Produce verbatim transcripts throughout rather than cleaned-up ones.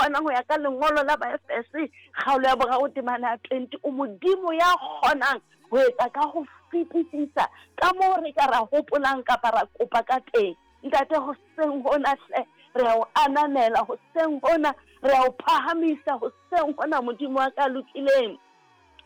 kgonang ho ya ka lengolo la Baefese kgaolo ya boraro temana ya twenty. O Modimo ya kgonang ho etsa ka ho fetisisa ka moo re ka ra hopolang kapa ra kopa ka teng. Ntate, hoseng hona hle re a o ananela, hoseng hona re a o phahamisa, hoseng hona Modimo wa ka lokileng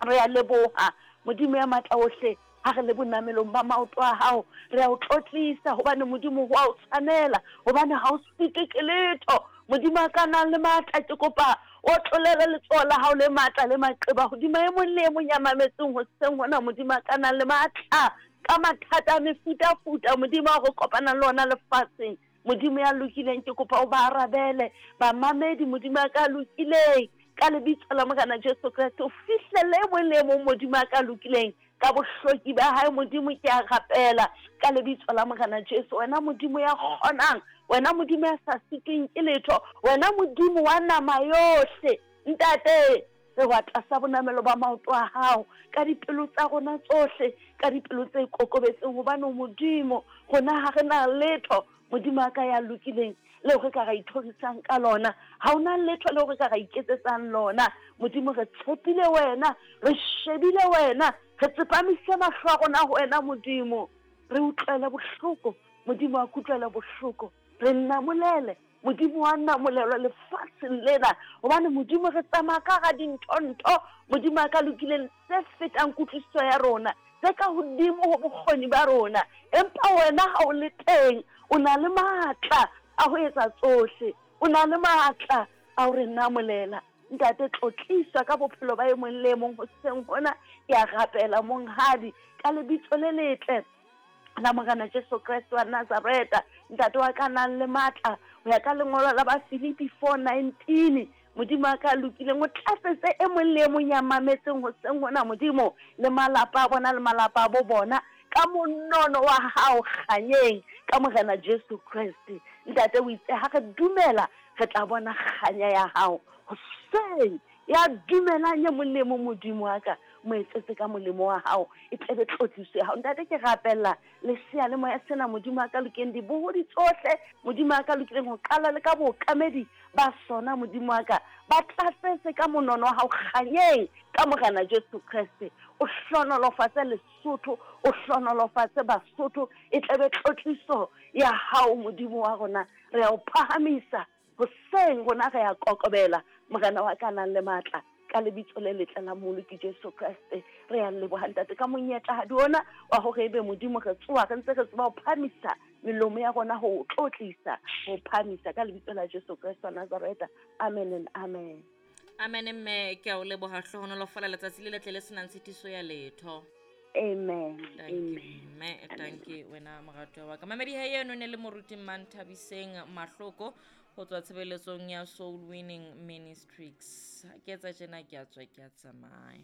re a leboha. Modimo ya matla ohle, ha re le bonamelong ba maoto a hao, re a o tlotlisa hobane Modimo ho a o tshwanela, hobane ha o sitwe ke letho. Modimo a ka nang le matla, ke kopa o tlolele letsoho la hao le matla le maqeba hodima e mong le e mong ya mametseng hoseng hona. Modimo a ka nang le matla ka mathata a mefutafuta, Modimo a re kopanang le ona lefatsheng. Modimo ya lokileng, ke kopa o ba arabele bamamedi, Modimo a ka lokileng, ka lebitso la Morena Jesu Kreste, o fihlelle e mong le e mong, Modimo a ka lokileng, ka bohloki ba hae. Modimo, ke a rapela ka lebitso la Morena Jesu, wena Modimo ya kgonang, wena Modimo ya sa sitweng ke letho, wena Modimo wa nama yohle, Ntate, re wa tlasa bonamelo ba maoto a hao ka dipelo tsa rona tsohle, ka dipelo tse kokobetseng, hobane Modimo rona ha re na letho, Modimo a ka ya lokileng, leo re ka ra ithorisang ka lona. Ha hona letho leo re ka ra iketsetsang lona. Modimo, re tshepile wena, re shebile wena, re tsepamise mahlo a rona ho wena Modimo. Re utlwele bohloko, Modimo a kutlwele bohloko, re namolele, Modimo wa namolelwa lefatsheng lena, hobane Modimo re tsamaya ka hara dintho-ntho, Modimo a ka lokileng, tse fetang kutlwisiso ya rona, tse ka hodimo ho bokgoni ba rona. Empa wena ha o le teng, o na le matla a ho etsa tsohle, o na le matla a ho re namolela. Ntate, tlotliswa ka bophelo ba e mong le e mong hoseng hona. Ke a rapela monghadi ka lebitso le letle la Morena Jesu Kreste wa Nazareta, Ntate wa ka nang le matla, ho ya ka lengolo la Bafilipi four nineteen, Modimo a ka lokileng, o tlatsetse e mong le e mong ya mametseng hoseng hona, Modimo, le malapa a bona le malapa a bo bona, ka monono wa hao kganyeng, ka Morena Jesu Kreste. Ntate, o itse ha re dumela re tla bona kganya ya hao hoseng. Ya dumelang e mong le mong, Modimo wa ka, mo etsetse ka molemo wa hao, e tlebe tlotliso ya hao. Ntate, ke rapella lesea le moya sena, Modimo a ka lokileng, dibohodi tsohle, Modimo a ka lokileng, ho qala le ka bookamedi ba sona, Modimo wa ka, ba tlatsetse ka monono wa hao kganyeng, ka Morena Jesu Kreste. O hlonolofatse Lesotho, o hlonolofatse Basotho, e tlebe tlotliso ya hao, Modimo wa rona. Re a o phahamisa hoseng, rona re a kokobela, Morena wa ka nang le matla, ka lebitso le letle la Mmoloki Jesu Kreste. Re a leboha Ntate ka monyetla ha di ona wa hore ebe Modimo re tsoha re ntse re tseba ho phahamisa melomo ya rona ho tlotlisa, ho phahamisa ka lebitso la Jesu Kreste wa Nazareta. Amen and amen. Amen mme, ke a o leboha, hlohonolofala letsatsi le letle le senang tshitiso ya letho. Amen. Thank you, mme, thank you wena moratwa wa ka. Mamedi ha eno ne le moruti Manthabiseng Mahloko ho tswa tshebeletsong ya Soul Winning Ministries. Ke etsa tjena, ke a tswa, ke a tsamaya.